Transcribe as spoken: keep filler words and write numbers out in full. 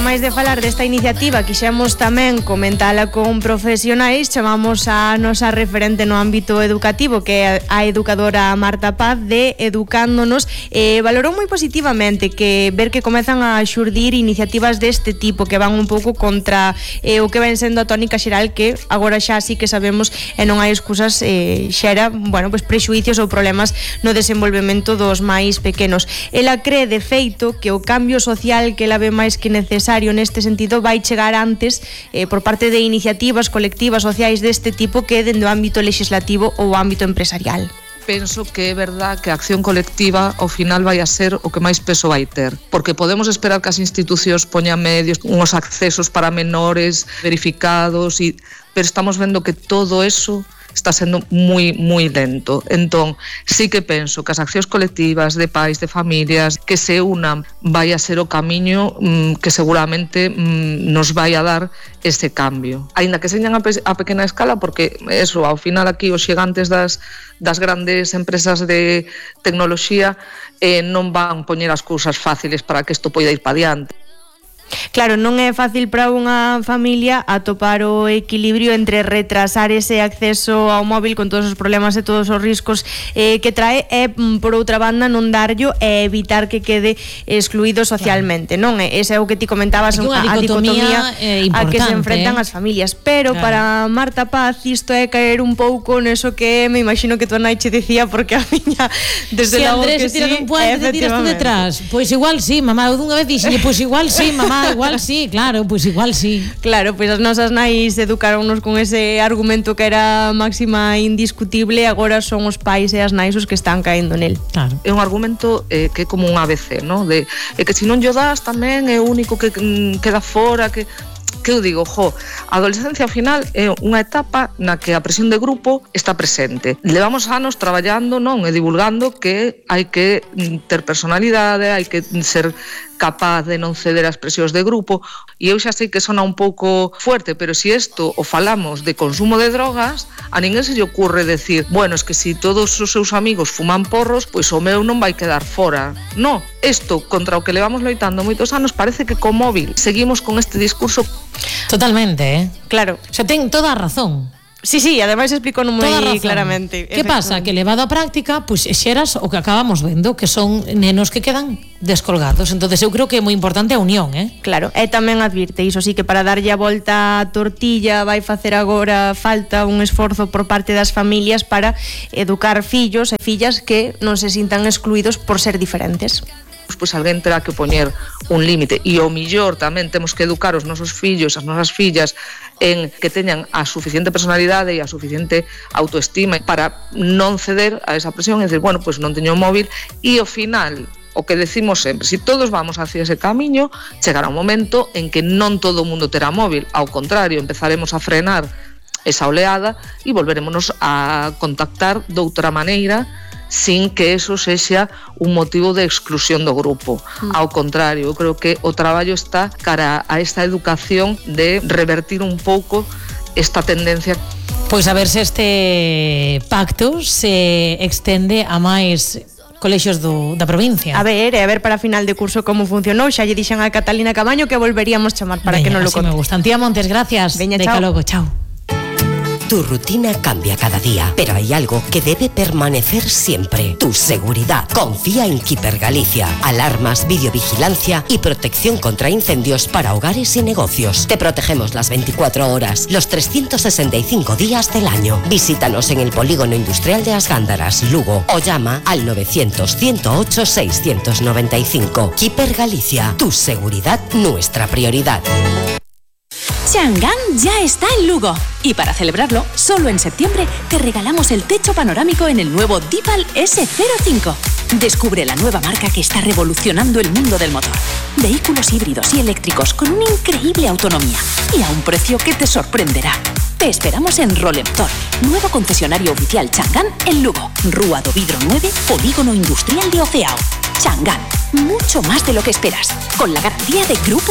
ademais de falar desta iniciativa, quixemos tamén comentala con profesionais. Chamamos a nosa referente no ámbito educativo, que é a educadora Marta Paz, de Educándonos. Eh, valorou moi positivamente que ver que comezan a xurdir iniciativas deste tipo, que van un pouco contra eh, o que ven sendo a tónica xeral, que agora xa sí que sabemos e non hai excusas, eh, xera, bueno, pues prexuicios ou problemas no desenvolvemento dos máis pequenos. Ela cree, de feito, que o cambio social que ela ve máis que necesario neste sentido vai chegar antes eh, por parte de iniciativas colectivas sociais deste tipo que dende o ámbito legislativo ou o ámbito empresarial. Penso que é verdad que a acción colectiva ao final vai a ser o que máis peso vai ter, porque podemos esperar que as institucións poñan medios, uns accesos para menores verificados, e, pero estamos vendo que todo eso está sendo moi, moi lento. Entón, sí que penso que as accións colectivas de pais, de familias, que se unan, vai a ser o camiño mmm, que seguramente mmm, nos vai a dar ese cambio. Aínda que señan a, pe- a pequena escala, porque eso, ao final aquí os xigantes das, das grandes empresas de tecnoloxía eh, non van poñer as cousas fáciles para que isto poida ir pa diante. Claro, non é fácil para unha familia atopar o equilibrio entre retrasar ese acceso ao móvil con todos os problemas e todos os riscos eh, que trae, e por outra banda non darllo e evitar que quede excluído socialmente, claro. Non? Ese é o que ti comentabas, a, a dicotomía eh, a que se enfrentan as familias. Pero claro, para Marta Paz isto é caer un pouco neso que me imagino que tu nai che decía, porque a miña desde si logo Andrés que se tira sí, dun puente, te tiras tú detrás. Pois pues igual sí, mamá, eu dunha vez dixenlle, pois pues igual sí, mamá, igual sí, claro, pois pues igual sí. Claro, pois pues as nosas nais educaronnos con ese argumento que era máxima indiscutible, agora son os pais e as nais os que están caendo nel. Claro. É un argumento eh, que é como un A B C, ¿no? De eh, que se non llo das tamén é o único que mm, queda fora, que que eu digo, jo, a adolescencia ao final é unha etapa na que a presión de grupo está presente. Levamos anos traballando, non, e divulgando que hai que ter personalidade, hai que ser capaz de non ceder ás presións de grupo, e eu xa sei que sona un pouco fuerte, pero se si isto o falamos de consumo de drogas, a ninguén se lle ocurre decir, bueno, es que se si todos os seus amigos fuman porros, pois o meu non vai quedar fora. No, isto contra o que levamos loitando moitos anos, parece que co móvil seguimos con este discurso. Totalmente, eh? Claro. O sea, ten toda a razón. Sí, sí, ademais explicou moi claramente. Que pasa? Que levado á práctica, pois pues, xeras o que acabamos vendo, que son nenos que quedan descolgados. Entonces eu creo que é moi importante a unión, eh? Claro, e tamén advirte iso, sí, que para darlle a volta a tortilla vai facer agora falta un esforzo por parte das familias para educar fillos e fillas que non se sintan excluídos por ser diferentes. Pois alguén terá que poñer un límite, e o millor tamén temos que educar os nosos fillos, as nosas fillas, en que teñan a suficiente personalidade e a suficiente autoestima para non ceder a esa presión e decir, bueno, pois non teño móvil, e ao final o que decimos sempre, se si todos vamos hacia ese camiño, chegará un momento en que non todo o mundo terá móvil, ao contrario, empezaremos a frenar esa oleada e volverémonos a contactar de outra maneira, sin que eso sexa un motivo de exclusión do grupo. Mm. Ao contrario, eu creo que o traballo está cara a esta educación de revertir un pouco esta tendencia. Pois a ver se este pacto se extende a máis colexios do, da provincia. A ver, e a ver para final de curso como funcionou. Xa lle dixen a Catalina Cabaño que volveríamos chamar para Veña, que non lo conte. Me gustan. Tía Montes, gracias. Veña, Deca chao. logo, chao. Tu rutina cambia cada día, pero hay algo que debe permanecer siempre: tu seguridad. Confía en Keeper Galicia. Alarmas, videovigilancia y protección contra incendios para hogares y negocios. Te protegemos las veinticuatro horas, los trescientos sesenta y cinco días del año. Visítanos en el Polígono Industrial de As Gándaras, Lugo, o llama al novecientos, ciento ocho, seiscientos noventa y cinco. Keeper Galicia. Tu seguridad, nuestra prioridad. Chang'an ya está en Lugo. Y para celebrarlo, solo en septiembre te regalamos el techo panorámico en el nuevo Dipal ese cero cinco. Descubre la nueva marca que está revolucionando el mundo del motor. Vehículos híbridos y eléctricos con una increíble autonomía y a un precio que te sorprenderá. Te esperamos en Rolemtor, nuevo concesionario oficial Chang'an en Lugo. Rúa do Vidro nueve, Polígono Industrial de Oceao. Chang'an, mucho más de lo que esperas, con la garantía de Grupo